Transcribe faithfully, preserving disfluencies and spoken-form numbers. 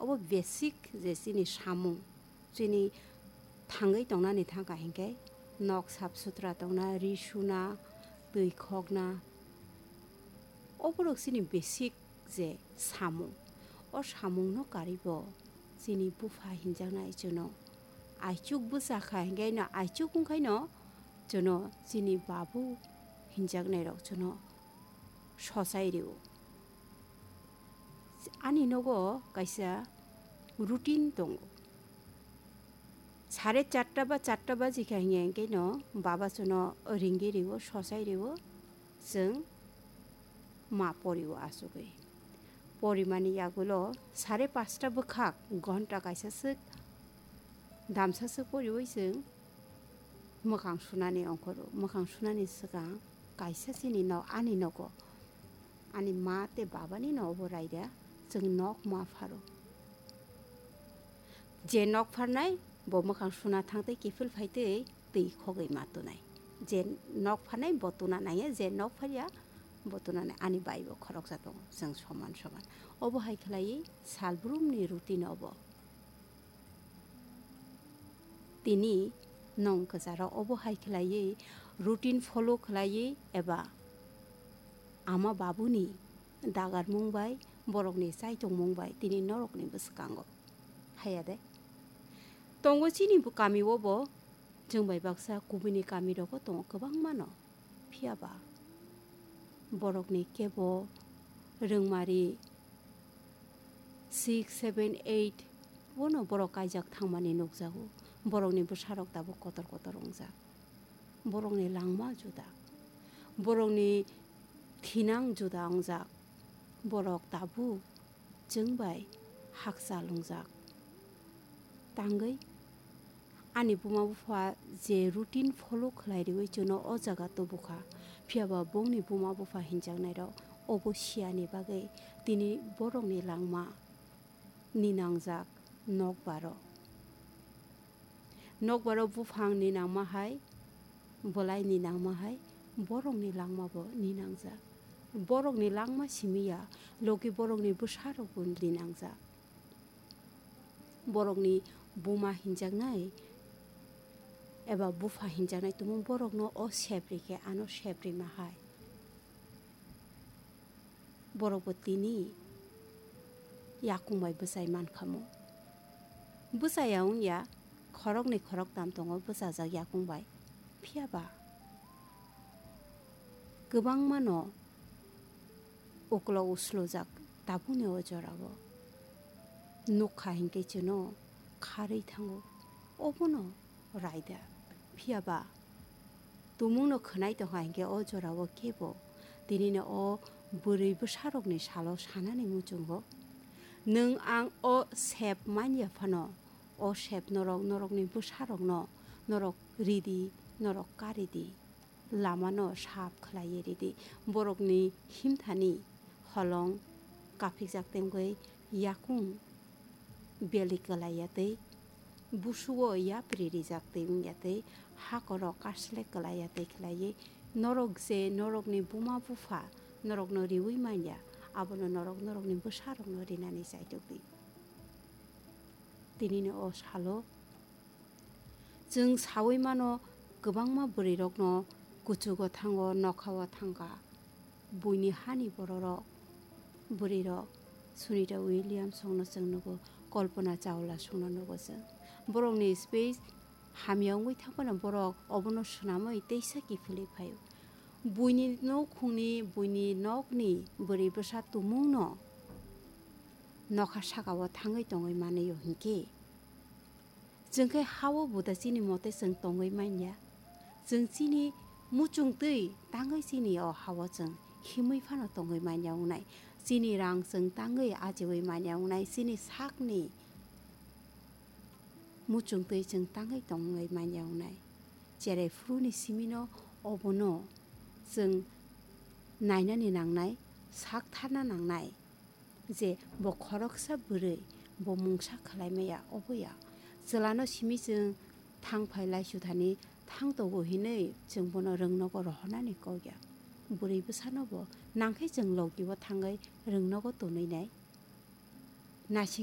Obo basic je chini samung, chini thangwi tongnani thangkha hinkhe nok sap sutra tongna, ri suna, twi khokna, oborok chini basic je samung. O samungno karibo chini bupha hinjaknai chwngno aichuk bwchakha hinkhe no aichuk wngkhaino chwngno chini babu hinjaknairok chwngno sochai rio. Ani nogo kaisa routine tongo. Sare charta ba charta bajikha hinkhe no baba chwngno ringwi rio, sochai rio, chwng ma porio achugwi. Porimani yagulo sare pasta bwkhak ghonta kaisa swk damsa swk poriwi chwng mwkhang sunani ongkhoro. Mwkhang sunani swkang kaisa chini nok, ani nogo, ani ma tei babani nogo raida chwng nok ma pharo. Je nok pharnai bo mwkhang suna thang tei kiphil phai tei twi khogwi ma tunai. Je nok pharnai bo tuna nangya, je nok pharya bo tuna nai. Ani bai bo khoroksa tongo, chwng soman soman. Obo hai khlaiwi salbrumni routine obo. Tini nwng kwcharo obo hai khlaiwi routine follow khlaiwi eba ama babuni dagarmung bai borokni chaitongmung bai tini norokni bwskango. Haya de? Tongo chini bo kami o bo, chwng bai baksa kubuni kami rogo tongo kwbangma no. Phiya ba borokni kebo rwngmari six, seven, eight bono borok kaijak thangmani nukjago. Borokni bwsarok tabuk kotor kotor wngjak. Borokni langma juda. Borokni thinang juda wngjak. Borok tabuk chwng bai hakchal wngjak. Tangwi ani buma bupha je routine follow khlai riwi chwngno o jaga tubukha, phiya ba bongni buma bupha hinjaknairok obo siyani bagwi tini borokni langma ninangjak nokbaro. Nokbaro buphang ninangma hai, bwlai ninangma hai, borokni langma bo ninangjak. Borokni langma simi ya, logi borokni bwsarok bo ninangjak. Borokni buma hinjaknai eba bupha hinjaknai tumung borokno o sep rikhe ano sep rima hai. Borok bo tini yakung bai bwchai mankhamu. Bwchaya wngya, khoroknwi khoroktam tongo bwchajak yakung bai. Phiya ba kwbangma no uklo uslojak tabukni o jorao. Nukha hinkhe chwngno kharwi thango. Obono raida. Phiya ba tumungno khwnai tongkha hinkhe o jorao kebo tinino o bwrwi bwsarokni salo sanani muchungo. Nwng ang o sep manya phano, o sep norok, norokni bwsarokno norok ridi, norok karidi. Lamano sap khlaiwi ridi. Borokni himthani holong kaphikjak tei wngwi yakung beli kwlaiya tei busuo yapri rijak tei wngya tei hakorok kaslek kwlaiya tei khlaiwi norok je norokni buma bupha norokno riwi manya, abono norok norokni bwsarokno rinani chaitok di. Tinini o salo chwng saui mano, kwbangma bwrwirokno kuchugo thango, nokhao thangkha. Buini hani bororok, bwrwirok, Sunita Williams songno chwng nugo, Kalpana Chawla songno nugo chwng. Borokni speech hamya wngwi thangphano borok obono swnamwi teisa kiphilwi phaio. Buini noukhungni, buini nokni bwrwi bwsa tumungno nokha sakao thangwi tongwi manlio hinkhe, chwng khe ha-o buda chini mote chwng tongwi manya. Chwng chini muchung twi tangwi chini o ha-o chwng himwi phano tongwi manya wngnai. Chini rang chwng tangwi ajiwi manya wngnai. Chini sakni muchung twi chwng tangwi tongwi manya wngnai. Cherai phuruni simino obono chwng nainani nangnai, sak tharna nangnai. Je bo khoroksa bwrwi, bo mungsa khlai maya, obo ya. Chwlano simi chwng thang phai laisu thani thang togo hinwi chwng bono rwngnogo rohornani kok ya. Bwrwi bwsano bo nangkhe chwng logi-o thangwi rwngnogo tonwi nai. Naising